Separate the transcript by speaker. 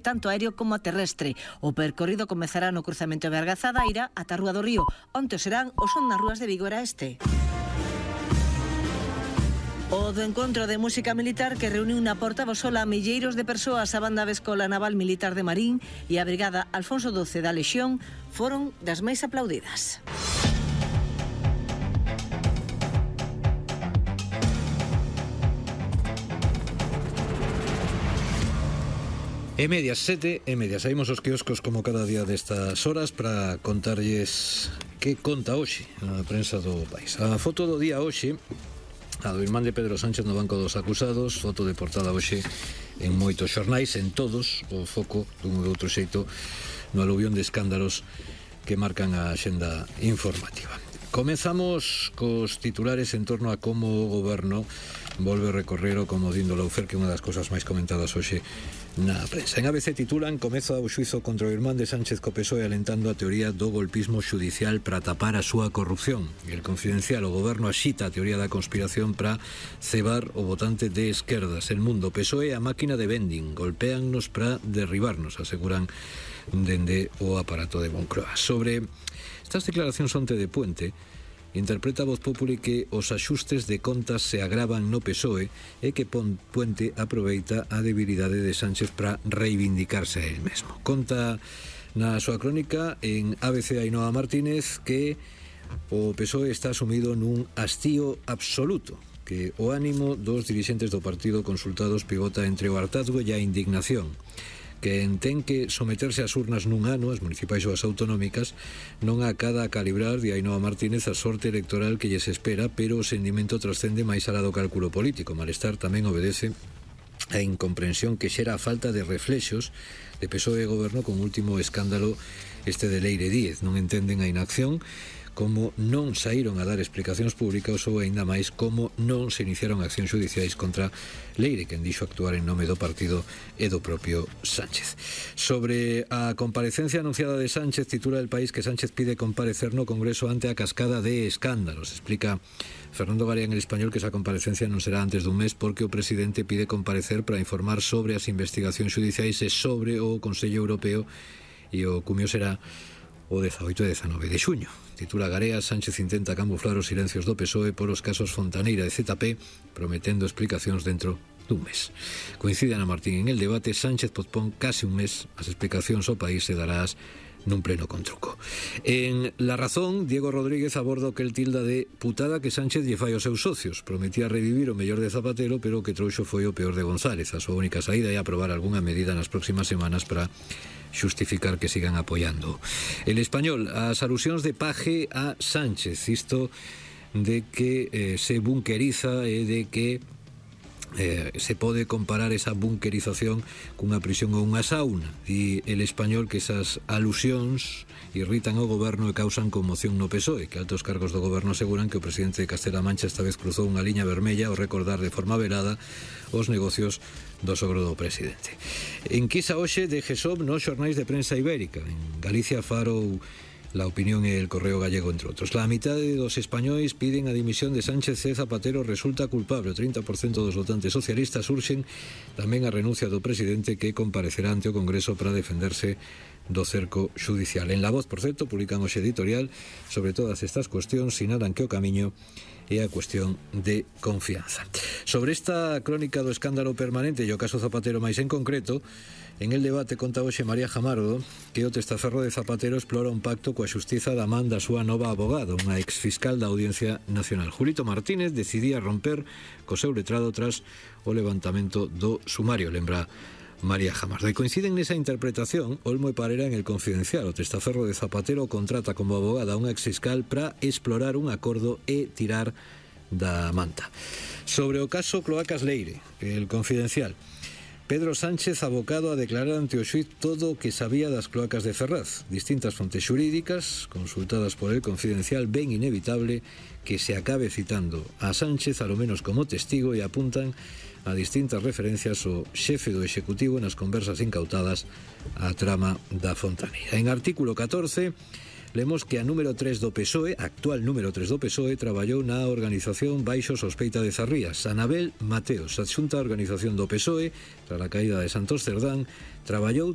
Speaker 1: tanto aéreo como terrestre. O percorrido comezará no cruzamento de Argazadaira ata a Rúa do Río, onde serán o son nas rúas de Vigo era este. O do encontro de música militar que reuniu na Porta Bosola a milleiros de persoas, a banda da Escola Naval Militar de Marín e a Brigada Alfonso XII da Lexión foron das máis aplaudidas.
Speaker 2: E medias 7, saímos aos quioscos como cada día destas horas para contarlles que conta hoxe a prensa do país. A foto do día hoxe, a do irmán de Pedro Sánchez no banco dos acusados, foto de portada hoxe en moitos xornais, en todos, o foco dun ou outro xeito no aluvión de escándalos que marcan a axenda informativa. Comezamos cos titulares en torno a como o goberno volve a recorrer o comodín do Lawfare, que é unha das cosas máis comentadas hoxe na prensa. En ABC titulan: comeza o xuizo contra o irmán de Sánchez co PSOE alentando a teoría do golpismo xudicial para tapar a súa corrupción. E El Confidencial: o goberno axita a teoría da conspiración para cebar o votante de esquerdas. El Mundo: PSOE a máquina de vending, golpéannos para derribarnos, aseguran dende o aparato de Moncloa. Sobre estas declaracións onte de Puente, interpreta a Voz Populi que os axustes de contas se agravan no PSOE e que Puente aproveita a debilidade de Sánchez para reivindicarse a él mesmo. Conta na súa crónica en ABC Ainhoa Martínez que o PSOE está sumido nun hastío absoluto, que o ánimo dos dirixentes do partido consultados pivota entre o hartazgo e a indignación, que ten que someterse ás urnas nun ano, as municipais ou as autonómicas, non acada a calibrar, de Ainhoa Martínez, a sorte electoral que lles espera, pero o sendimento trascende máis alá do cálculo político. Malestar tamén obedece a incomprensión que xera a falta de reflexos de PSOE e goberno con último escándalo este de Leire Díez. Non entenden a inacción, como non saíron a dar explicacións públicas ou aínda máis como non se iniciaron accións judiciais contra Leire, quen dixo actuar en nome do partido e do propio Sánchez. Sobre a comparecencia anunciada de Sánchez, titula El País que Sánchez pide comparecer no Congreso ante a cascada de escándalos. Explica Fernando Garea en El Español que esa comparecencia non será antes dun mes porque o presidente pide comparecer para informar sobre as investigacións judiciais e sobre o Consello Europeo, e o cumio será o 18 e 19 de xuño. Titula Garea: Sánchez intenta camuflar os silencios do PSOE por os casos Fontaneira e ZP, prometendo explicacións dentro dun mes. Coincide Ana Martín en El Debate: Sánchez pospón case un mes as explicacións ao país e darás nun pleno con truco. En La Razón, Diego Rodríguez aborda o que el tilda de putada que Sánchez lle fai aos seus socios. Prometía revivir o mellor de Zapatero, pero o que trouxo foi o peor de González. A súa única saída é aprobar algunha medida nas próximas semanas para xustificar que sigan apoiando. El Español: as alusións de Paje a Sánchez, isto de que se bunqueriza e de que se pode comparar esa bunkerización cunha prisión ou unha sauna. E El Español que esas alusións irritan ao goberno e causan conmoción no PSOE, que altos cargos do goberno aseguran que o presidente de Castela-La Mancha esta vez cruzou unha liña vermella ao recordar de forma velada os negocios do sogro do presidente. Enquisa hoxe de GESOP nos xornais de prensa ibérica. En Galicia, Faro, La Opinión e El Correo Gallego, entre outros. La mitade dos españois piden a dimisión de Sánchez e Zapatero resulta culpable. O 30% dos votantes socialistas urxen tamén a renuncia do presidente, que comparecerá ante o Congreso para defenderse do cerco xudicial. En La Voz, por certo, publican hoxe editorial sobre todas estas cuestións, sinalan que o camiño é a cuestión de confianza. Sobre esta crónica do escándalo permanente e o caso Zapatero máis en concreto, en El Debate conta hoxe María Jamardo que o testaferro de Zapatero explora un pacto coa xustiza da man da súa nova abogada, unha exfiscal da Audiencia Nacional. Julito Martínez decidía romper co seu letrado tras o levantamento do sumario, lembra María Jamardo. E coinciden nesa interpretación Olmo e Parera en El Confidencial. O testaferro de Zapatero contrata como abogada a unha exfiscal para explorar un acordo e tirar da manta. Sobre o caso Cloacas Leire, El Confidencial: Pedro Sánchez abocado a declarar ante o xuiz todo o que sabía das cloacas de Ferraz. Distintas fontes xurídicas consultadas por El Confidencial ven inevitable que se acabe citando a Sánchez alo menos como testigo e apuntan a distintas referencias ao xefe do Executivo nas conversas incautadas á trama da Fontaneira. En artículo 14, Lemos que a número 3 do PSOE, actual número 3 do PSOE, traballou na organización baixo sospeita de Zarrías. Anabel Mateos, adxunta a organización do PSOE, tras a caída de Santos Cerdán, traballou